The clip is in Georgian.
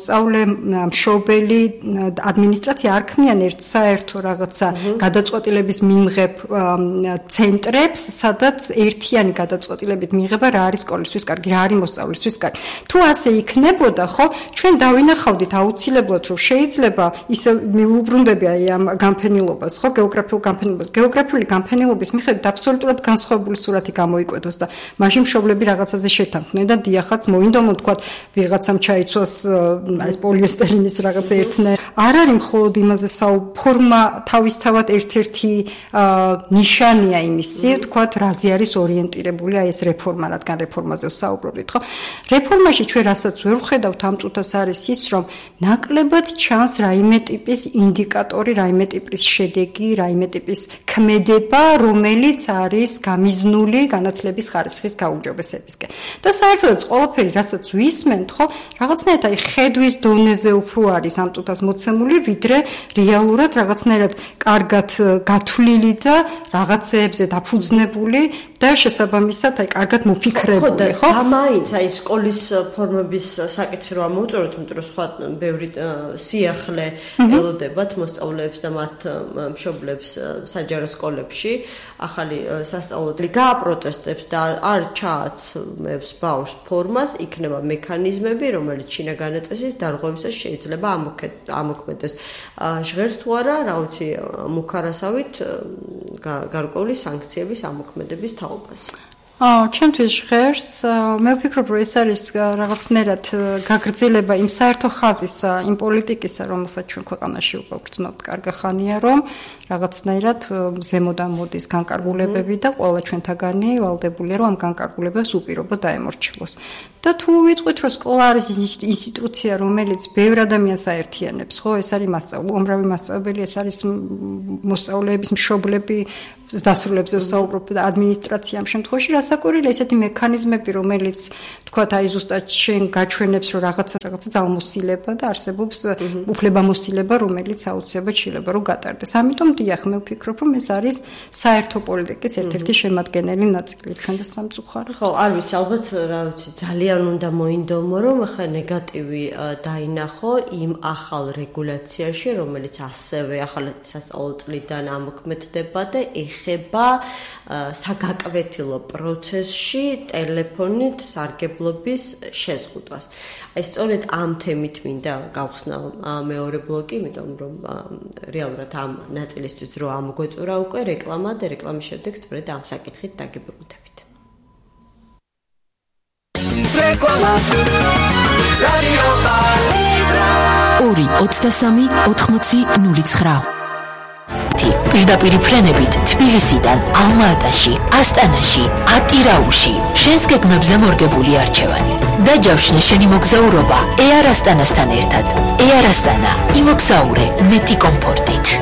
მოსწავლე, მშობელი, ადმინისტრაცია არ ქმნიან ერთ საერთო რაღაცა გადაწყვეტილების მიმღებ ცენტრებს, სადაც ერთიანი გადაწყვეტილებით მიიღება რა არის სკოლისთვის კარგი, რა არის მოსწავლისთვის კარგი. თუ ასე იქნებოდა, ხო, ჩვენ დავინახავდით აუცილებლად, რომ შეიძლება ისე მიუბრუნდები აი ამ განფენილობას, ხო, გეოგრაფიულ განფენილობას. გეოგრაფიული განფენილობის მიხედვით აბსოლუტურად განსხვავებული სურათი გამოიკვეთოს და მაშინ მშობლები რაღაცაზე შეთანხმდნენ და დიახაც მოინდომო თქვათ ვიღაცამ ჩაიცვას ეს პოლიესტერინის რაღაც ერთნაირი. არ არის მხოლოდ იმაზე ფორმა თავისთავად ერთ-ერთი ნიშანია იმისი, თქვათ, რაზე არის ორიენტირებული აი ეს რეფორმა, რადგან რეფორმაზე ვსაუბრობთ, ხო? რეფორმაში ჩვენ რასაც ვერ ვხედავთ ამ წუთას არის ის, რომ ნაკლებად ჩანს რაიმე ტიპის ინდიკატორი, რაიმე ტიპის შედეგი, რაიმე ტიპის ქმედება, რომელიც არის გამიზნული განათლების ხარისხის გაუმჯობესებისკენ. და საერთოდაც ყველაფერი, რასაც ვისმენთ, ხო, რაღაცნაირად აი ხედვის დონეზე უფრო არის ამ წუთას მოცემული, ვიდრე რეალურად რაღაცნაირად კარგად გათვლილი და რაღაცეებზე დაფუძნებული და შესაბამისად აი კარგად მოფიქრებული, ხო? და მაინც აი სკოლის ფორმების საკითხი რომ მოვუწოდოთ, იმიტომ რომ სხვა ბევრი სიახლე ელოდებათ მოსწავლეებს და მათ მშობლებს საჯარო სკოლებში, ახალი სასწავლებელი გააპროტესტებს და არ ჩააცმევს ბავშვს ფორმას, იქნება მექანიზმები, რომელიც შინაგანი წესის დარღვევისას შეიძლება ამოქმედდეს. ჟღერს თუ არა, რა ვიცი, მუქარასავით გარკვეული სანქციების ამოქმედების თაობას. ჩემთვის ჟღერს, მე ვფიქრობ, რომ ეს არის რაღაცნაირად გაგრძელება იმ საერთო ხაზის, იმ პოლიტიკისა, რომელსაც ჩვენ ქვეყანაში უკვე ვგრძნობთ კარგი ხანია, რომ რაღაცნაირად ზემოდან მოდის განკარგულებები და ყველა ჩვენთაგანი ვალდებულია, რომ ამ განკარგულებებს უპირობო დაემორჩილოს. და თუ ვიტყვით, რომ სკოლა არის ინსტიტუცია, რომელიც ბევრ ადამიანს აერთიანებს, ხო, ეს არის უამრავი მასწავლებელი, ეს არის მოსწავლეების მშობლები, დასრულებზე ვსაუბრობ და ადმინისტრაცია ამ შემთხვევაში რასაკვირველია ესეთი მექანიზმები, რომელიც თქვათ აი ზუსტად შენ გაჩვენებს, რომ რაღაცა ძალმოსილება და არსებობს უფლებამოსილება, რომელიც აუცილებლად შეიძლება რომ გატარდეს. ამიტომ დიახ, მე ვფიქრობ, რომ ეს არის საერთო პოლიტიკის ერთ-ერთი შემადგენელი ნაწილი ჩვენ და სამწუხაროდ. ხო, არ ვიცი, ალბათ რა ვიცი, ძალიან უნდა მოინდომო, რომ ახლა ნეგატივი დაინახო იმ ახალ რეგულაციაში, რომელიც ასევე ახალ სასწავლო წლიდან ამოქმედდება და ეხება საგაკვეთილო პროცესში ტელეფონით სარგებლობის შეზღუდვას. აი სწორედ ამ თემით მინდა გავხსნა მეორე ბლოკი, იმიტომ რომ რეალურად ამ ნაწილისთვის რო ამოგვეწურა უკვე რეკლამა და რეკლამის შემდეგ სწორედ ამ საკითხით დაგიბრუნდებით. რეკლამა რადიო პატრიოტა 2-23-80-09 პირდაპირი ფრენებით თბილისიდან, ალმა-ატაში, ასტანაში, ატირაუში, შენს გეგმებზე მორგებული არჩევანი. დაჯავშნე შენი მოგზაურობა Air Astana-სთან ერთად. Air Astana, იმოგზაურე მეტი კომფორტით.